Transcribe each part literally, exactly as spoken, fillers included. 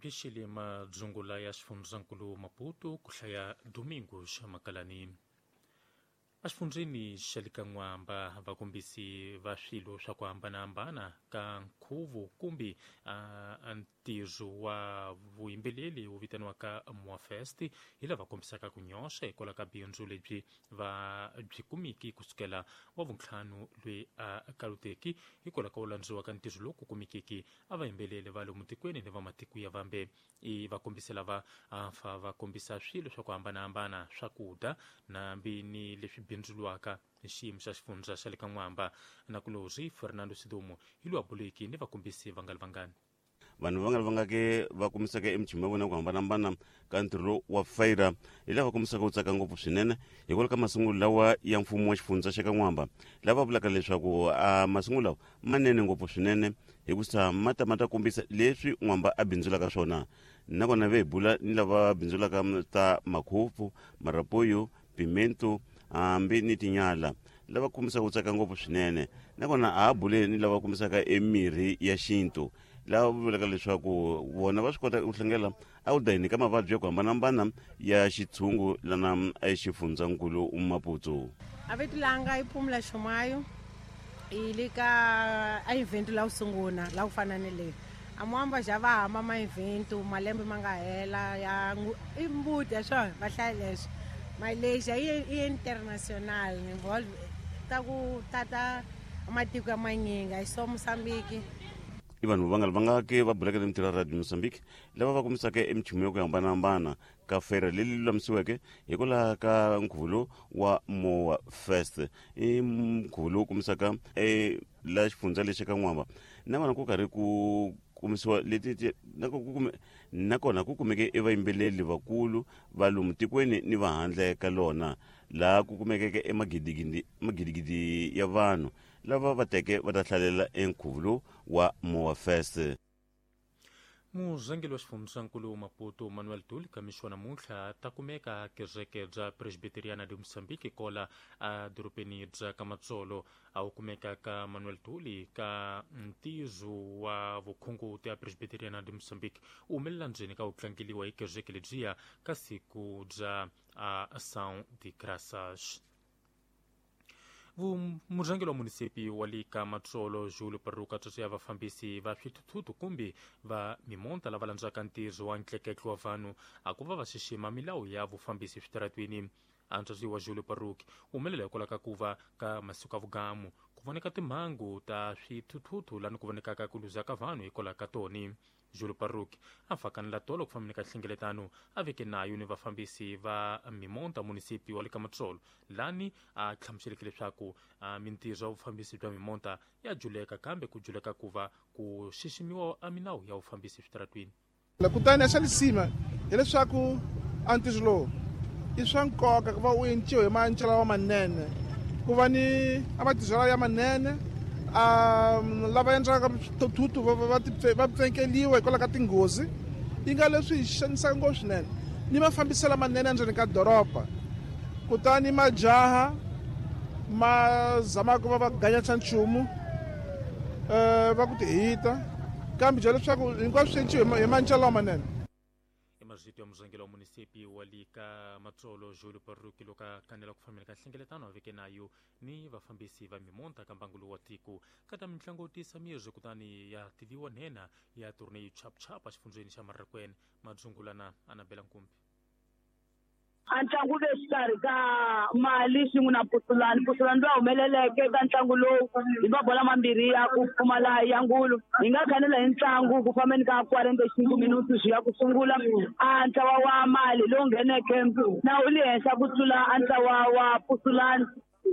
Bixile madzungula ya xifundzankulu Maputo ku hlaya Domingos Makalani. Exifundzeni xa le ka N'wamba vakombisi va swilo swa ku hambanahambana ka nkhuvo kumbe ntirho wa vuyimbeleri wu vitaniwaka Moafest hi lava kombisaka ku nyoxa hikwalaho ka bindzu lebyi va byi kumiki kusukela wa vuntlhanu loyi a kaluteki hikwalaho ka ku landziwa ka ntirho lowu ku kumekiki a vayimbeleri va lomu tikweni ni va matiko ya vambe. I vakombisi lava fa va kombisa swilo swa ku hambanahambana swakudya nambi ni leswi bindzuriwaka hi xiyimo xa xifundza xa le ka N'wamba. Nakulorhi Fernando Sidumo hi lowa buleki ni vakombisi vangali vangani. Vanhu va nga ri vangake va kumisaka emichumu ya vona ku hambanahambana ka ntirho lowu wa fayira hi lava kombisaka ku tsaka ngopfu swinene hikwalaho ka masungulo lawa ya mfumo wa xifundza xa ka N'wamba, lava vulaka leswaku a masungulo lawa manene ngopfu swinene hikusa ma ta ma ta kombisa leswi N'wamba a bindzulaka swona. Nakona ve hi bula ni lava bindzulaka ta makhupfu, marapoyo, pimento hambi ni tinyala, lava kombisaka ku tsaka ngopfu swinene. Nakona a ha bule ni lava kombisaka emirhi ya xintu, lava vulaka leswaku vona va swi kota ku hlangela a ku dayini ka mavabyi ya ku hambanahambana ya xitshungu lana exifundzankulu Maputo. A vito langa i Phumula Xumayo, i le ka a event la ku sungula la ku fana ni leyi. A Mwamba xa va hamba ma event malembe ma nga hela ya i mbuti ya swona va hlaya leswi. Malaysia i international involve ta ku tata matiko ya manyingi a so Mozambique. I vanhu va nga va nga ke va bulaka ni mintirho ya Radio Mozambique lava va kumisaka emichumu ya ku hambanahambana ka fere leyi lulamisiweke hikwalaho ka nkhuvo lowu wa Moa Fest. I nkhuvo lowu kumisaka e la xifundza lexi ka N'wamba, nakona ku karhi ku kumisiwa leti nakona ku kumeke e vayimbeleri vakulu va lomu tikweni ni va handle ka lona, laha ku kumekeke emagidigidi magidigidi ya vanhu lava va teke va ta hlalela enkhuvo lowu wa Moa Fest. Murhangeri wa xifundzankulu Maputo Manuel Duli kamixo namuntlha ta kumeka kereke bya Presbiteriana de Mozambique kola a dorobeni bya Kamatsolo. A wu kumeka ka Manuel Duli ka ntizo wa vukhunguti ya Presbiteriana de Mozambique u humelela ndzeni ka ku tlangeliwa hi kereke lebyiya ka siku bya Ação de Graças. Murhangeri wa munisipi wa le ka Matsolo Julio Paruka tsotso ya vafambisi va swithuthuthu kumbe va mimonta lava landzaka ntirho wa ntleketlo wa vanhu a ku va va xixima milawu ya vufambisi eswitaratweni. Antswatsi wa Julio Paruki u humelela hikwalaho ka ku va ka masiku ya vugamu ku voneka timhangu ta swithuthuthu lani ku vonekaka ku luza ka vanhu hikwalaho ka toni. Julio Paruki a fakanela tolo ku fambeni ka nhlengeletano a veke nayo ni vafambisi va mimonta munisipi wa le ka Matsolo lani a hlamuseleke leswaku mintirho ya vufambisi bya mimonta ya juleka kambe ku juleka ku va ku xiximiwa a milawu ya vufambisi eswitaratweni. Kutani xa lisima hileswaku a ntirho lowu i swa nkoka ku va u enciwa hi mancelo lawa manene, ku va ni a matirhiselo ya manene, a lava endlaka swithuthuthu va va pfenkeliwa hikwalaho ka tinghozi yi nga leswi hi xanisaka ngopfu swinene ni mafambiselo manene endzeni ka doroba. Kutani majaha ma zamaka ku va va ganyatsa nchumu va ku ti hita, kambe bya leswaku hinkwaswo swi enciwa hi mancelo lamanene. Mazito ya murhangeri wa munisipi wa le ka Matsolo Julio Paruki loko a kanela ku fambeni ka nhlengeletano a veke nayo ni vafambisi va mimonta ka mbangu lowu wa tiko ka ta mitlangu yo tisa mirhi kutani ya tiviwa nhenha ya tourney chapchapa exifundzeni xa Marrakwene. Madzungulana Anabela Nkumbi. A ntlangu le xikarhi ka Mali swin'we na Pusulani. Pusulani loyi a humeleleke ka ntlangu lowu hi mabola mambirhi ya ku pfumala ya ngulu. Hi nga khanela hi ntlangu ku fambeni ka quarante cinco minutos ya ku sungula. A ntlawa wa Mali lowu ngheneke na wu le henhla ku tlula a ntlawa wa Pusulani,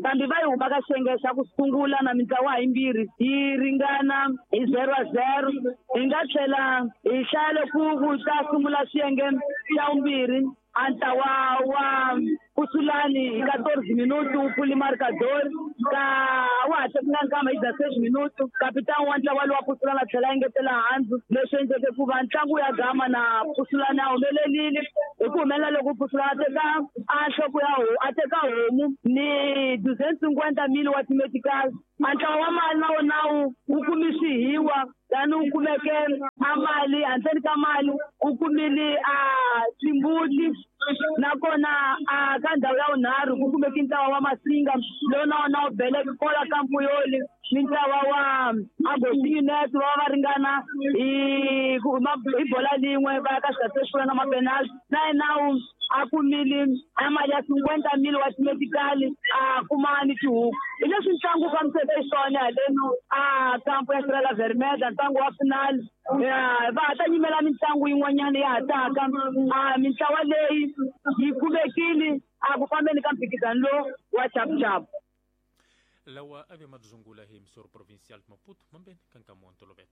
kambe va yi huma ka xiyenge xa ku sungula na mintlawa yimbirhi yi ringana hi zero a zero. Hi nga tlhela hi hlaya loko ku ta sungula xiyenge xa vumbirhi. A ntlawa wa Pusulani hi quatorze minutos wu pfule marcador ka wa ha tekanga nkama hi dezesseis minutos. Kapitani wa ntlawa lowa Pusulani a tlhela a engetela handzu, leswi endleke ku va ntlangu ya gama na Pusulani a humelelile. Hi ku humelela loko Pusulani a teka a nhloko ya a teka homu ni duzentos cinquenta mil wa timeticals. A ntlawa wa Mali na wona wu wu kumisihiwa tani wu kumeke A mali handleni ka mali u kumile a timbuti nakona a ka ndhawu ya vunharhu ku kumeke ntlawa wa Masinga lowu na wona wu beleke kola ka Mpuyoli ni ntlawa wa Agostinho Neto va va ringana hi hi bola lin'we va ya ka swigatsi leswi na mapenalty na yena a kumile a mali ya cinquenta mil wa timedikali a kuma ni tihuku. Hi leswi ntlangu wu fambiseke xiswona haleno a kampo ya Estrela Vermelha ntlangu wa final va ha ta nyimela mitlangu yin'wanyana ya ha taka a mintlawa leyi yi kumekile a ku fambeni ka mphikizano lowu wa chapuchapu. Lawa a ve madzungula hi Emissora Provincial de Maputo mambeni ka nkama wa ntolovelo.